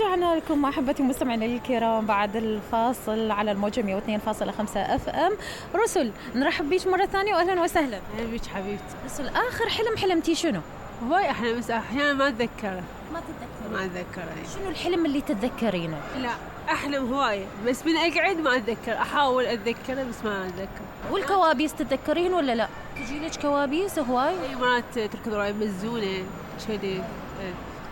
ورجعنا لكم أحبتي مستمعينا الكرام بعد الفاصل على الموجة 102.5 اف ام. رسل، نرحب بيش مرة ثانية وأهلا وسهلا. أهلا بيك حبيبتي. رسل، آخر حلم حلمتي شنو؟ هواي أحلام بس أحيانا ما أتذكره. ما أتذكره. شنو الحلم اللي تتذكرينه؟ لا أحلم هواي بس من أقعد ما أتذكر، أحاول أتذكره بس ما أتذكر. والكوابيس تتذكرين ولا لا؟ تجيلك كوابيس هواي؟ أي مرات تركض وراي مزونة كذي.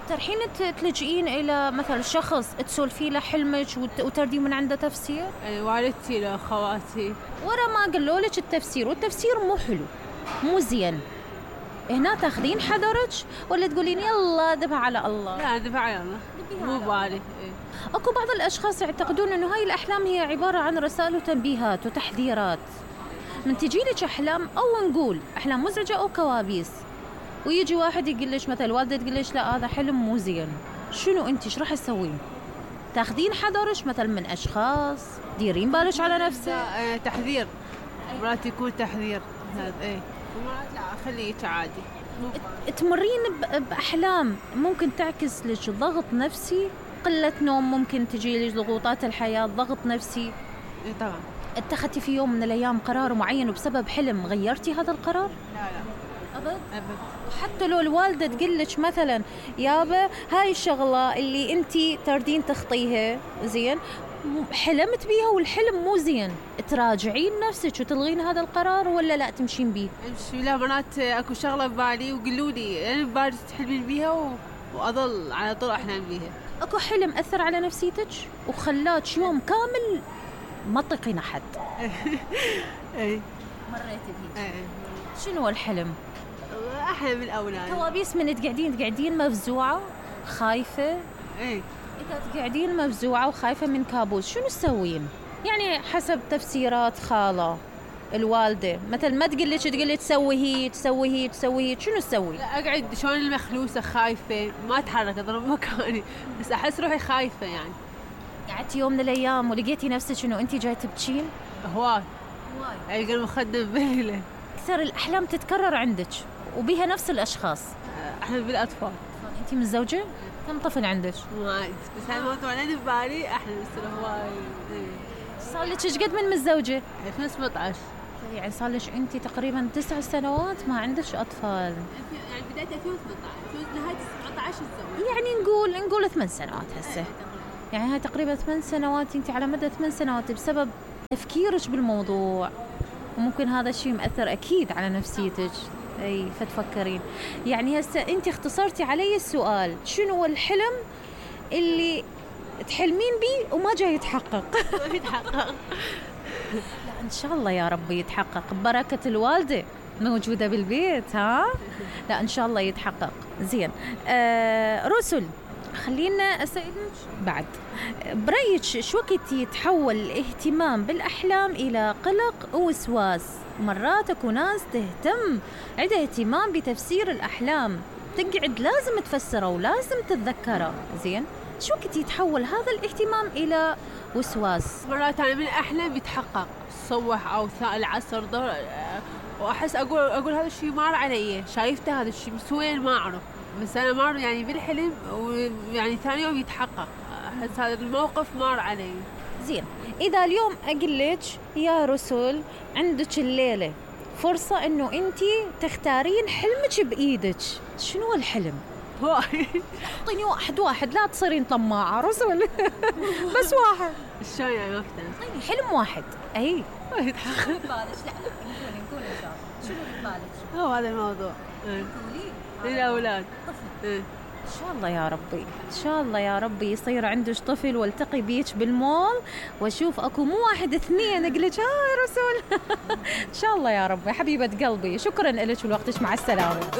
ترحين تلجئين إلى مثل شخص تسولفي له حلمك وتردي من عنده تفسير؟ والدتي لخواتي ورا ما قالوا لك التفسير والتفسير مو حلو مو زين، هنا تاخذين حذرك ولا تقولين يلا دفع على الله؟ لا دفع على الله مو بالي. اكو بعض الاشخاص يعتقدون انه هاي الاحلام هي عباره عن رسائل وتنبيهات وتحذيرات. من تجي لك احلام او نقول احلام مزعجه او كوابيس ويجي واحد يقول لك مثل والده تقول لك لا هذا حلم مو زين، شنو انت ايش راح تسوين؟ تاخذين حذرك مثل من اشخاص؟ ديرين بالك على نفسك؟ تحذير مرات يكون تحذير هذا ومرات لا خليك عادي. تمرين باحلام ممكن تعكس لك ضغط نفسي، قله نوم، ممكن تجي لك ضغوطات الحياه، ضغط نفسي. طبعا. اتخذتي في يوم من الايام قرار معين وبسبب حلم غيرتي هذا القرار؟ لا أبد. وحتى لو الوالدة تقول لك مثلا يابا هاي الشغلة اللي انتي تردين تخطيها زين حلمت بيها والحلم مو زين، تراجعين نفسك وتلغين هذا القرار ولا لا تمشين بيه؟ امشي. لا مرات اكو شغلة ببالي وقالوا لي انا ببالي تحلمين بيها واظل على طول احلم بيها. اكو حلم اثر على نفسيتك وخلاك يوم كامل ما تطيقين احد؟ اي مريتي بيه. شنو الحلم؟ احلم الاولاد. كوابيس من تقعدين مفزوعة خايفة؟ إذا تقعدين مفزوعة وخايفة من كابوس شنو تسوين؟ يعني حسب تفسيرات خالة الوالدة مثل ما تقول لك تسوي هي شنو تسوي؟ لا أقعد شلون المخلوسة خايفة ما أتحرك أضرب مكاني بس أحس روحي خايفة. يعني قعدتي يوم من الأيام ولقيتي نفسك إنه أنتي جاي تبكين؟ هواي ألقى المخدم بليلة. أكثر الأحلام تتكرر عندك وبيها نفس الأشخاص؟ أحلم بالأطفال. أنتي متزوجة؟ كم طفل عندك؟ وايد بس هالموضوع أنا ببالي أحلم بس هواي. صار لك إيش قد من متزوجة؟ 2017. يعني صار لك أنتي تقريبا 9 سنوات ما عندك أطفال. يعني بداية 2018 نهاية 17 الزواج. يعني نقول 8 سنوات هسه. يعني هاي تقريبا 8 سنوات أنتي على مدى 8 سنوات بسبب تفكيرك بالموضوع، وممكن هذا الشيء مأثر أكيد على نفسيتك. أي فتفكرين. يعني هسه أنت اختصرتي علي السؤال شنو الحلم اللي تحلمين بيه وما جاي يتحقق؟ لا إن شاء الله يا رب يتحقق ببركة الوالدة موجودة بالبيت. ها لا إن شاء الله يتحقق. زين. رسل، خلينا أسألك بعد برأيك شو وقت يتحول الاهتمام بالأحلام إلى قلق ووسواس؟ مرات اكو ناس تهتم عندها اهتمام بتفسير الأحلام تقعد لازم تفسره ولازم تتذكره. زين شو وقت يتحول هذا الاهتمام إلى وسواس؟ مرات أنا من الأحلام يتحقق الصبح أو العصر وأحس أقول هذا الشيء مار علي، شايفته هذا الشيء بس وين ما أعرف، بس أنا مار يعني بالحلم ويعني ثاني يوم يتحقق. أحس هذا الموقف مار علي. زين إذا اليوم أقول لك يا رسول عندك الليلة فرصة إنه أنتي تختارين حلمك بإيدك، شنو الحلم؟ اعطيني واحد لا تصيرين طماعة رسول. بس واحد. شلون يعني ما اقتنع؟ اعطيني حلم واحد. اي يتحقق ببالك. لا نقول ان شاء الله. شنو ببالك؟ هو هذا الموضوع. قولي للأولاد. طفل. إن شاء الله يا ربي، إن شاء الله يا ربي يصير عندك طفل والتقي بيك بالمول وأشوف أكو مو 1 2 أقلك يا رسول. إن شاء الله يا ربي حبيبة قلبي، شكرا لك ولوقتك، مع السلامة.